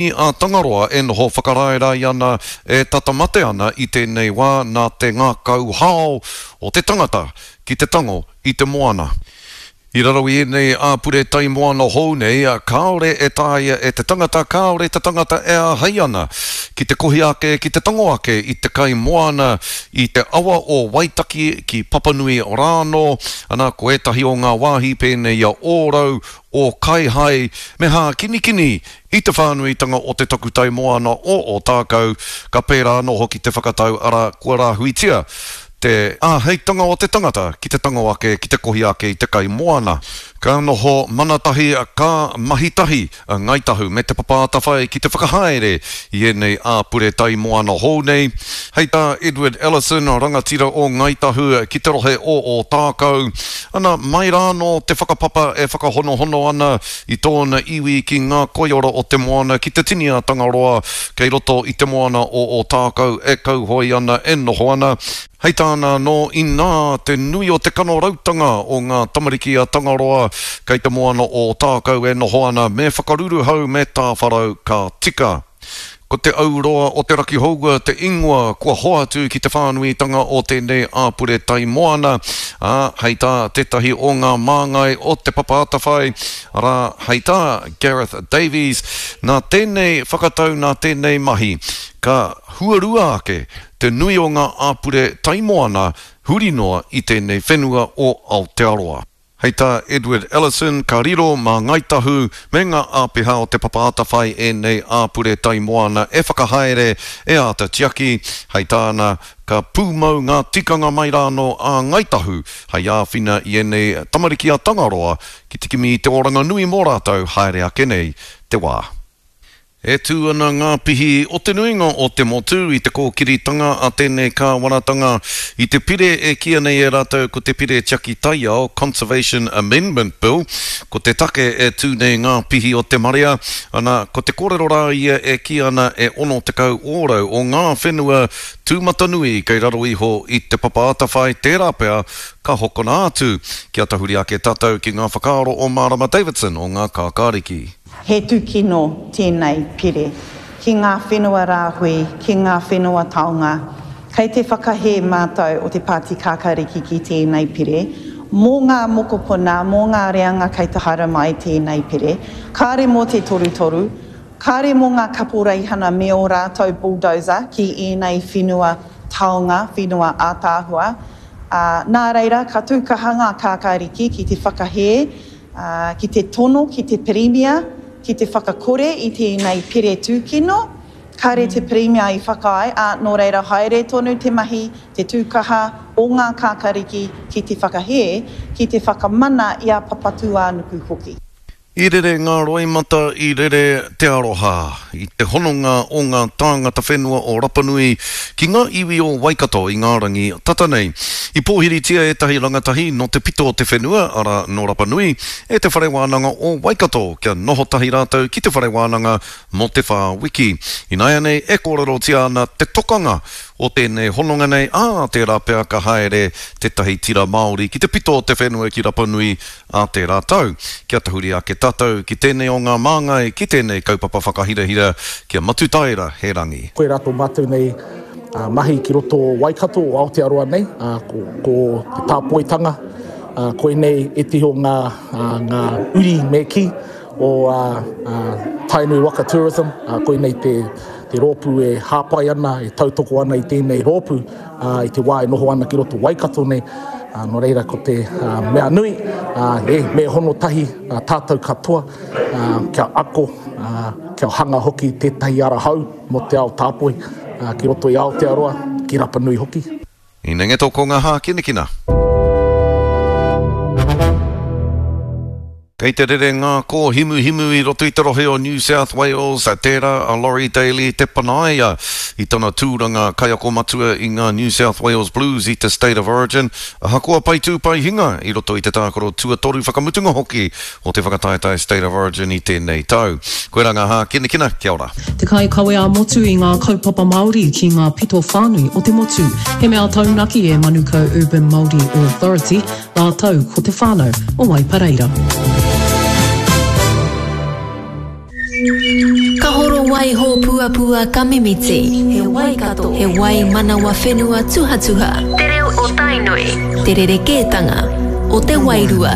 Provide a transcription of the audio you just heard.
A Tangaroa e noho whakaraerae ana, e tata mate ana i tēnei wā nā te ngākau hao o te tangata ki te tango i te moana. I raro i ēnei āpure tai moana hou nei, kāore e taea e te tangata, kāore te tangata e āhei ana ki te kohi ake, ki te tango ake i te kai moana i te awa o Waitaki ki Papanui rānō, ana, ko ētahi o ngā wāhi pēnei i a Ōrau, o Kaihai me Hākinikini I te whānuitanga o te takutai moana o Ōtākou, ka pērā anō hoki te whakatau, arā, kua rāhuitia te āheitanga o te tangata ki te tango ake, ki te kohi ake i te kai moana. Ka noho mana tahi, ka mahi tahi a Ngāi Tahu me Te Papa Atawhai ki te whakahaere i ēnei āpure tai moana hou nei. Hei tā Edward Ellison, rangatira o Ngāi Tahu ki te rohe o Ōtākou, ana, mai rānō te whakapapa e whakahonohono ana I tōna iwi ki ngā koiora o te moana ki te tini a Tangaroa kei roto i te moana o Ōtākou e kauhoe ana, e noho ana. Hei tāna anō, inā te nui o te kanorautanga o ngā tamariki a Tangaroa kei te moana o Ōtākou e noho ana, me whakaruruhau, me tāwharau ka tika. Ko Te Auroa o Te Rakihoua te ingoa kua hoatu ki te whānuitanga o tēnei āpure tai moana, ā, hei tā tētahi o ngā māngai o Te Papa Atawhai, arā, hei tā Gareth Davies, nā tēnei whakatau, nā tēnei mahi, ka huarua ake te nui o ngā āpure tai moana huri noa i tēnei whenua o Aotearoa. Hei tā Edward Ellison, ka riro mā Ngāi Tahu me ngā āpiha o Te Papa Atawhai ēnei āpure tai moana e whakahaere, e āta tiaki. Hei tāna, ka pūmau ngā tikanga mai rānō a Ngāi Tahu hei āwhina i ēnei tamariki a Tangaroa ki te kimi i te oranga nui mō rātou haere ake nei te wā. E tū ana ngā pihi o te nuinga o te motu i te kōkiritanga a tēnei kāwanatanga i te pire e kīia nei e rātou ko te Pire Tiaki Taiao, Conservation Amendment Bill. Ko te take e tū nei ngā pihi o te marea, ana, ko te kōrero rā ia e kī ana e 60 ōrau o ngā whenua tūmatanui kei raro iho i Te Papa Atawhai tērā pea ka hokona atu. Kia tahuri ake tātou ki ngā whakaaro o Marama Davidson o Ngā Kākāriki. He tūkino tēnei pere ki ngā whenua rāhui, ki ngā whenua taonga. Kei te whakahē mātou o te Pāti Kākāriki ki tēnei pere. Mō ngā mokopuna, mō ngā reanga kei te haere mai tēnei pere. Kāre mō te torutoru, kāre mō ngā kaporeihana me ō rātou bulldozer ki ēnei whenua taonga, whenua ātaahua. Ā, nā reira, ka tū kaha ngā Kākāriki ki te whakahē Ā, ki te tono ki te Pirimia ki te whakakore i tēnei pere tūkino, kāre te Pirimia i whakaae, ā, nō reira haere tonu te mahi, te tūkaha o ngā kākariki ki te whakahē, ki te whakamana i a Papatūānuku hoki. I rere ngā roimata, i rere te aroha i te hononga o ngā tāngata whenua o Rapanui ki ngā iwi o Waikato i ngā rangi tata nei. I pōhiritia ētahi rangatahi nō te pito o te whenua, arā, nō Rapanui, e Te Whare Wānanga o Waikato kia noho tahi rātou ki te whare wānanga mō te whā wiki. Ināianei e kōrerotia ana te tokanga o tēnei hononga nei, ā, tērā pea ka haere tētahi tira Māori ki te pito o te whenua ki Rapanui ā tērā tau. Kia tahuri ake tātou ki tēnei o ngā māngai, ki tēnei kaupapa whakahirahira, ki a Matutaera Herangi. Koirā tō mātou nei mahi ki roto o Waikato, o Aotearoa nei, ko, ko te tāpoitanga, koinei ētehi o ngā, ngā uri me kī o Tainui Waka Tourism, koinei te, te rōpū e hāpai ana, e tautoko ana i tēnei rōpū i te wā e noho ana ki roto Waikato nei. Nō reira ko te mea nui, e, me hono tahi tātou katoa kia ako, kia hanga hoki tētahi ara hou mō te ao tāpoi ki roto i Aotearoa, ki Rapanui hoki. I Nengeto ko ngā hākinakina. Kei te rere ngā kōhimuhimu i roto i te rohe o New South Wales, tērā a Laurie Daley te panaia i tana tūranga kaiako matua i ngā New South Wales Blues i te State of Origin, ahakoa pai tū pai hinga i roto i te tākaro tuatoru whakamutunga hoki o te whakataetae State of Origin i tēnei tau. Koirā ngā hākinakina, kia ora. Te kaikawe ā-motu i ngā kaupapa Māori ki ngā pito whānui o te motu. He mea taunaki e Manukau Urban Māori Authority rātou ko te whānau o Waipareira. Ka horo wai hōpuapua ka mimiti. He Waikato, he wai manawa whenua tuhatuha. Te reo o Tainui. Te rerekētanga o te wairua.